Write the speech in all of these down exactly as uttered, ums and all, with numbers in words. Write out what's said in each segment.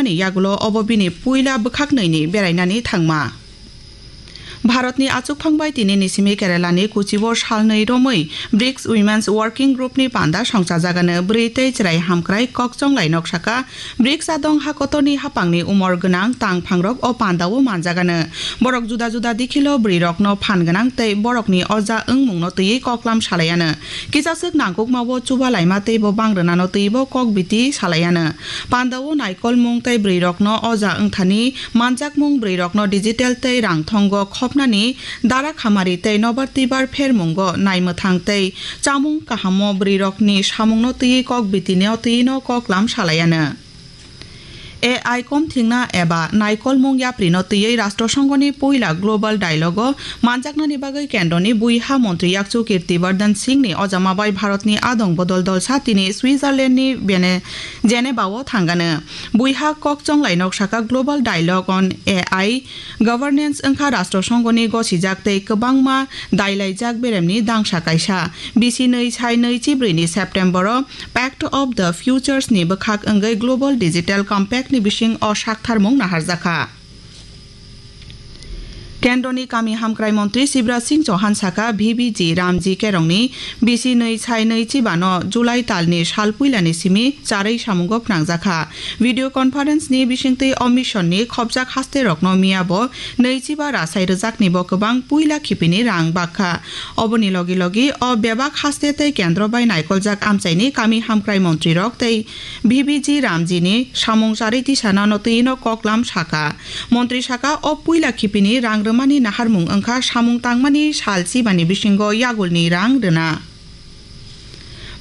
ni yagulo obo bini puila bwkhaknwini berainani thangma. Bharatni achukphang bai tini ni simi Keralani Kochibo salnwi romwi brics Women's Working Group ni panda songchajagano bwrwi tei chwrai hamkrai kok chonglai nok saka. Brics adong ha kotorni hapangni umor gwnang tang phangrok o pandao manjagano. Borok juda juda dikhilo bwrwirokno phan gwnang tei borokni oja wngmungno twiwi koklam salaiano. Kisaswk nangkukmao chuba laima teibo bang rwnano twibo kok biti salaiano. Pandao naikolmung tei bwrwirokno oja wngthani manjakmung, bwrwirokno digital tei rangthongo khopnani dara khamari tei nobar twibar phermungo naimwthang tei chamung kahamo bwrwirokni samungno twiwi kok bitino twino koklam salaiano. A I komthingna eba naikolmung yaprino twiwi Rashtrasonghoni puila Global Dialogue-o manjaknani bagwi kendroni buiha montri yakchu Kirti Vardhan Singhni ojama bai Bharatni adong bodol dolsa tini Switzerlandni Bene-, Geneva-o thangano. Buiha kok chonglai nok saka Global Dialogue on A I Governance wngkha Rashtrasonghoni gosijak tei kwbangma dailaijak beremni dangsa kaisa. Bisi nwi sai nwi chibrwi ni September-o Pact of the Futures ni bwkhak wngwi Global Digital Compact ni bising o saktharmung naharjakha. Kendroni kami hamkrai montri Shivraj Singh Chauhan saka V B G Ramji Kerongni bisi nwi sai nwi chibano July talni sal puilani simi charwi samungo phnangjakha. Video conference ni bisingtwi o mission ni khopjak haste rokno miya bo nwi chiba rasai rwjakni bo kwbang puila khipini rang bakha. Oboni logi logi o bebak haste tei kendro bai naikoljak amchaini kami hamkrai montri rok tei V B G Ramji ni samung charwi tisanano twino koklam saka. Montri saka o puila khipini rang rwmani naharmung wngkha samung tangmani sal chibani bisingo yagulni rang rwna.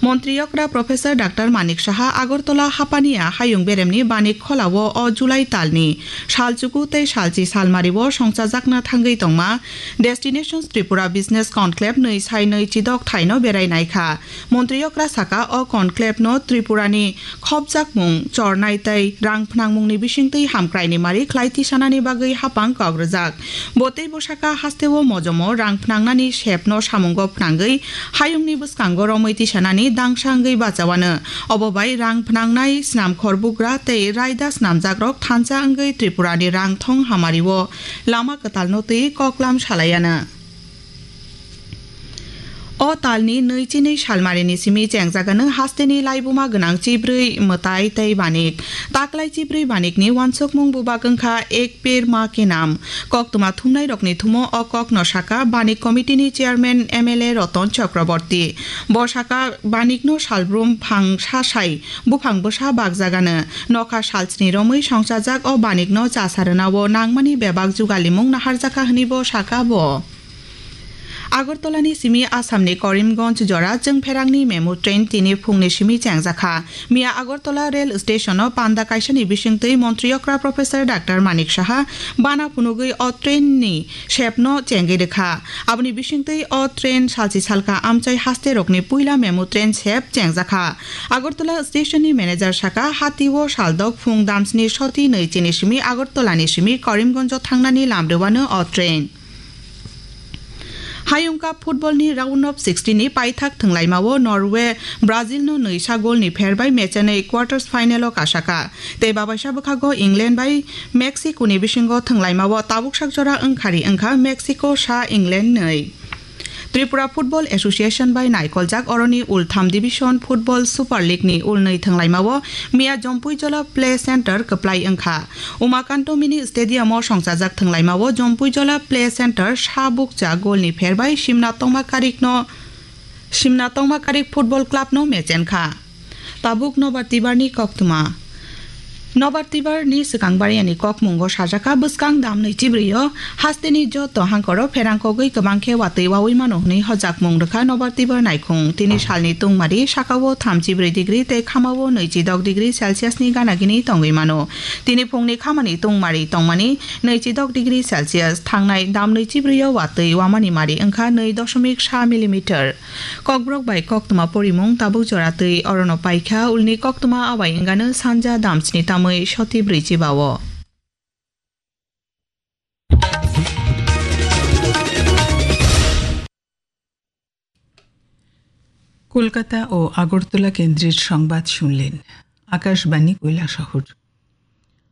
Montri okra Professor Doctor Manik Saha Agartala Hapania hayung beremni Banik Kholao o July talni salchuku tei salchi salmario songchajakna thangwi tongma Destinations Tripura Business Conclave nwi sai nwi chidok thaino berai naikha. Montri okra saka o conclave no Tripurani khopjakmung, chornai tei rang phnangmungni bisingtwi hamkraini mari khlai tisanani bagwi hapang kok rwjak. Bo tei bwsaka hasteo mojomo rang phnangnani sepno samungo phnangwi hayungni bwskango romwi tisanani dangsa wngwi bachawano. Obo bai rang phnangnai snamkhor bugra tei raida snamjakrok thansa wngwi Tripurani rang thong hamario lama kwtalno twi koklam salaiano. O talni nwi chinwi salmarini simi chengjagano hasteni laibuma gwnang chibrwi mwtai tei banik. Taklai chibrwi banikni uansukmung bubak wngkha Ek Ped Maa Ke Naam. Koktwma thumnairokni thumo o kokno saka Banik Committee-ni Chairman M L A Ratan Chakraborty. Bo saka banikno salbrum phang sasai buphang bwsa bakjagano. Nokha salsni romwi songchajak o banikno chasarwnao nangmani bebak jugalimung naharjakha hwnwibo saka bo. Agartalani simi Assamni Karimganj jora chwngpherangni memo train tini phungni simi chengjakha. Miya Agartala rail station-o panda kaisani bisingtwi montri okra Professor Doctor Manik Saha bana phunugwi o train-ni sepno chengwi rwkha. Aboni bisingtwi o train salchi salka amchai hasterokni puila memo train sep chengjakha. Agartala station-ni manager saka, hatio saldok phung damsni soti nwi chini simi Agartalani simi Karimganj-o thangnani lamrwano o train. Hayung Cup football ni round of sixteen ni paithak thwnglaimao Norway Brazil no nwi sa goal ni pher bai mechenwi quarters final o kasaka. Tei babaisa bwkhago England bai Mexico ni bisingo thwnglaimao tabuk sak jora wngkhari wngkha Mexico sa England nwi. Tripura Football Association bai naikoljak oroni ultham division football Super League ni ulnwi thwnglaimao miya Jompuijola Play Center kwplai wngkha. Umakanto Mini Stadium-o songchajak thwnglaimao Jompuijola Play Center sa bukcha golni pher bai simna tongma karikno, simna tongma karik football club-no mechenkha. Tabuk Nobar Tibarni koktwma. Nobar Tibarni swkang bariani kokmungo sajakha bwskang damnwi chibrwi-o hasteni joto hangkoro pherang kogwi kwbang khe watwi wawi mano hwnwi hojakmung rwkha Nobar Tibar naikhung. Tini salni tungmari sakao thamchi brwi degree tei khamao nwichi dok degree Celsius-ni gana gini tongwi mano. Tini phungni khamani tungmari tongmani nwichi dok degree Celsius, thangnai damnwi chibrwi-o watwi wamani mari wngkha nwi doshomik sa millimeter. Kokborok bai koktwma porimung tabuk jora twi orono paikha, ulni koktwma abai wngano sanja damsni tamwi soti brwi chibao. Kolkata ও আগরতলা কেন্দ্রের সংবাদ শুনলেন। আকাশবাণী কৈলাসহর।